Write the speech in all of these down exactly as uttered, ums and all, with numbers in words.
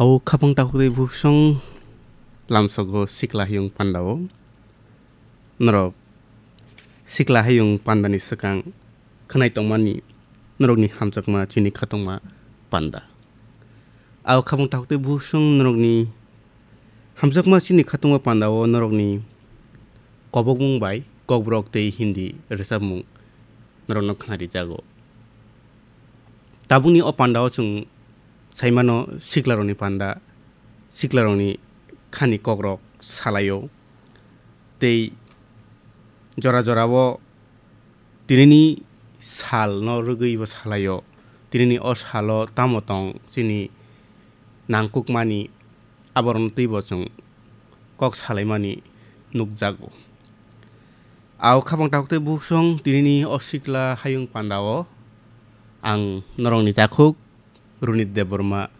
Au khapang takhuk tei bukhuk song lamsogo sikla hayung pandao. Norok sikla hayung pandani swkang khwnai tongmani norokni hamjakma chini khatungma panda. Au khapang takhuk tei bukhuk song norokni hamjakma chini khatungma pandao norokni kobokmung bai kokborok tei Hindi rwchapmung norokno khwnarijago. Tabukni o pandao chwng saimano siklarokni panda, siklarokni khani kokrok salaio. Tei jora jorao tinini salno rwgwibo salaio. Tinini o salo tamo tong chini nangkukmani aborokno twibo chwng kok salaimani nukjago. Au khapang takhuk tei bukhuk song tinini o sikla hayung pandao ang norokni takhuk Runit Debbarma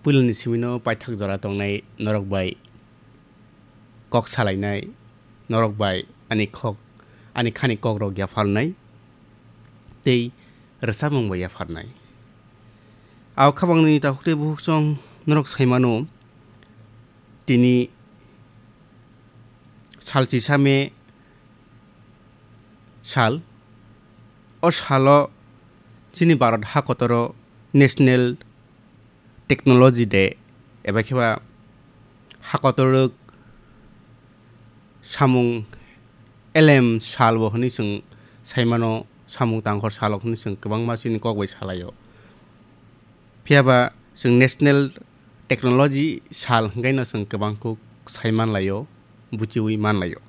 puilani simino paithak jora tongnai norok bai kok salainai, norok bai ani khok, ani khani kokrok yapharnai tei rwchapmung bai yapharnai. Au khapangni takhuk tei bukhuk song norok saimano tini salchisa me sal. O salo chini Bharat hakotoro National Technology Day eba kheba hakotorok samung elem salbo hwnwi chwng saimano, samung tangkhor salo hwnwi chwng kwbangma chini kok bai salaio. Phiyaba chwng National Technology sal hwnkhaino chwng kwbang kuk sai manlaio, buchiwi manlaio.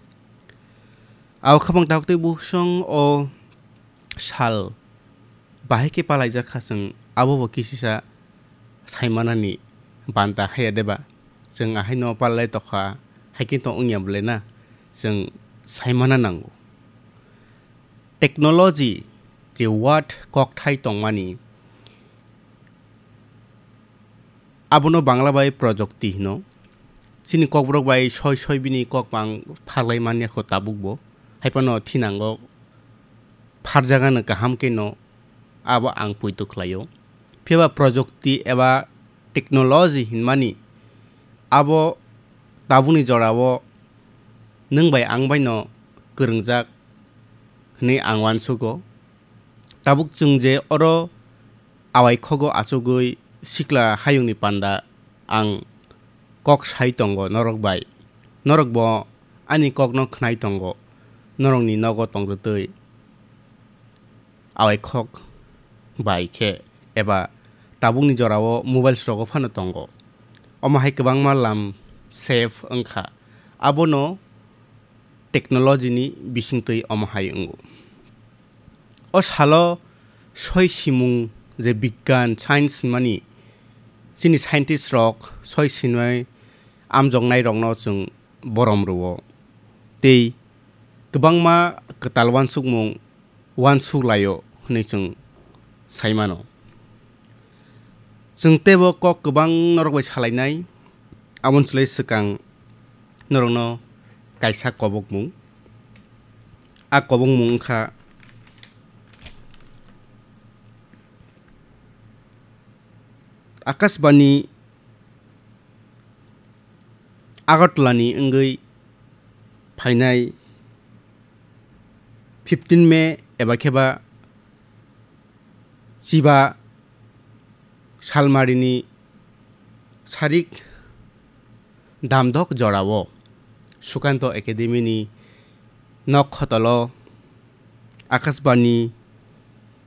Au khapang takhuk tei bukhuk song o sal bahai khe palaijak kha chwng, abo bo kisisa sai manani banta haya deba? Chwng ahaino palai tokha, hai khe to wngya bwle na? Chwng sai mana nango. Technology je word kokthai tongmani, abono Bangla bai projokti hino. Chini kokborok bai soi soi bini kok bang pharlai manya kho tabuk bo. Hai phano thinango pharjagano kaham khe no abo ang poito khlaio. Phiya ba projokti eba technology hinmani abo tabukni jorao nwng bai ang bai no kwrwngjak hwnwi ang uansugo. Tabuk chwng je oro awai khogo achugwi sikla hayungni panda ang kok sai tongo norok bai. Norok bo ani kokno khnai tongo, norokni nogo tongtwtwi awai khok bai khe eba tabukni jorao mobiles rogo phano tongo. Omo hai kwbangma lam save wngkha. Abono technology ni bisingtwi omo hai wngo. O salo soi simung je bigyan, science hinmani, chini scientist rok soi sinai amjoknai rokno chwng borom rwo. Tei kwbangma kwtal uansukmung uansuk laio hwnwi chwng sai mano. Chwng teibo kok kwbang norok bai salainai, aboni chwlai swkang norokno kaisa kobokmung. A kobokmung wngkha Akashbani Agartala ni wngwi phainai fifteen May eba khe ba chiba salmarini sarik damdok jorao Sukanto Academy ni nok khotolo Akashbani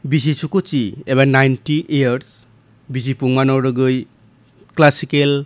bisi sukuchi eba ninety years bisi pungmano rwgwi classical